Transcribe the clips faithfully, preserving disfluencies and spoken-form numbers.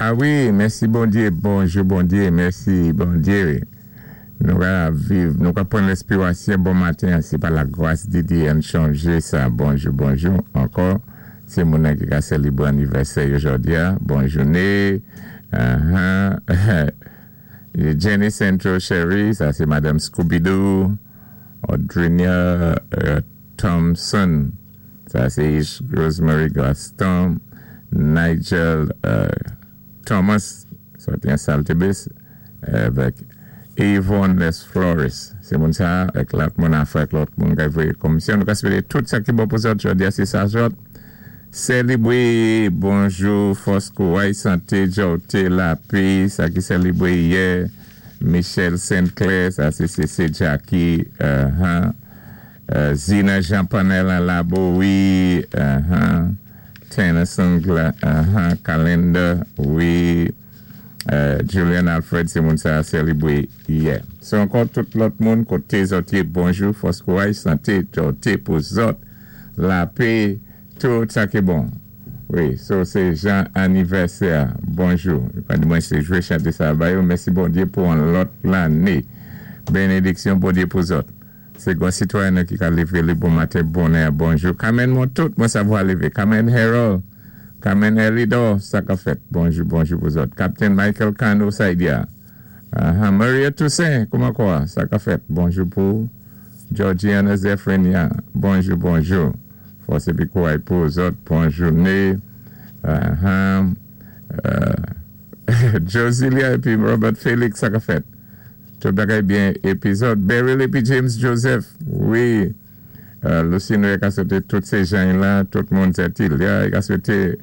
Ah wi, mèsi Bondyé, bonjou Bondyé, mèsi Bondyé. Nou ka viv, nou ka pwan lespirasyon bon maten, sé pa la gwas di Dye ann chanjé sa. Bonjou, bonjou, ankò, sé moun ki ka sélébwé anivèsè jòdi a. Bon jouné. Uh-huh. Jenny Central Sherry, sa sé Madame Scooby-Doo. Audrinia euh, Thompson, sa sé Rosemary Gaston. Nigel euh, Thomas, sa sé Saltibus, avèk Yvonne Les Flores. Sé moun sa, avèk lòt moun afè, lòt moun ki voyé komisyon. Nou ka swété tout sa ki bon pou zòt, jòdi a sé sa zòt. Sélébwé, bonjou, fòs kouway, santé, jòté, lapè, sa ki sélébwé yè. Michel Sinclair, sa sé C C Jackie, uh-huh. Uh, Zina Jean Panel Labo, wi, uh-huh. Tennyson, uh-huh. Calendar, wi. Uh, Julian Alfred, sé moun sa sélébwé yè. So ankò tout lòt moun, koté zòt yé, bonjou, fòs kouway, santé, jòté pou zòt, lapè, tout sa ki bon. Wi, so sé jan anivèsè, bonjou. Mwen sé jwé chanté sa ba yo, mèsi Bondyé pou an lòt lanné. Bénédiksyon Bondyé pou zòt. Sé gwan sitwayen ki ka lévé li bon maten, bonè, bonjou. Kamen moun tout, mwen savwa lévé. Kamen Harold, Kamen Elidor, sa ka fèt. Bonjou, bonjou pou zòt. Captain Michael Kano Saidia. Uh, Maria Toussaint, kouman kwa? Sa ka fèt. Bonjou pou Georgiana Zephrenia. Bonjou, bonjou. Fòs épi kouway pou zòt. Bon jouné. Uh-huh. Uh, Josilia épi Robert Félix, sa ka fèt. Tout bagay byen épi zòt. Beryl épi James Joseph. Wi. Uh, Lucino ka swété tout sé jan la, tout moun Zetilia, ka swété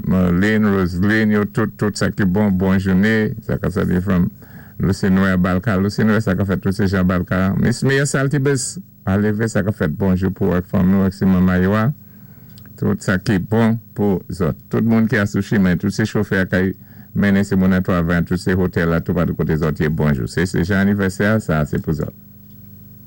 Marlene, Roseline, yo tout, tout sa ki bon, bon jouné. Sa ka swété from Lucino Balka. Lucino, sa ka fèt tout sé jan Balka. Miss Mia Saltibus, alévé, sa ka fèt, bonjou pou ak fanmi ak si manman yo. Tout sa ki bon pou zòt. Tout moun ki a sou chimen, tout sé chofè kay mennen sé moun an travay, tout sé otèl la, tout patou koté zòt yé, bonjou. Sé sé jan anivèsè, sa sé pou zòt.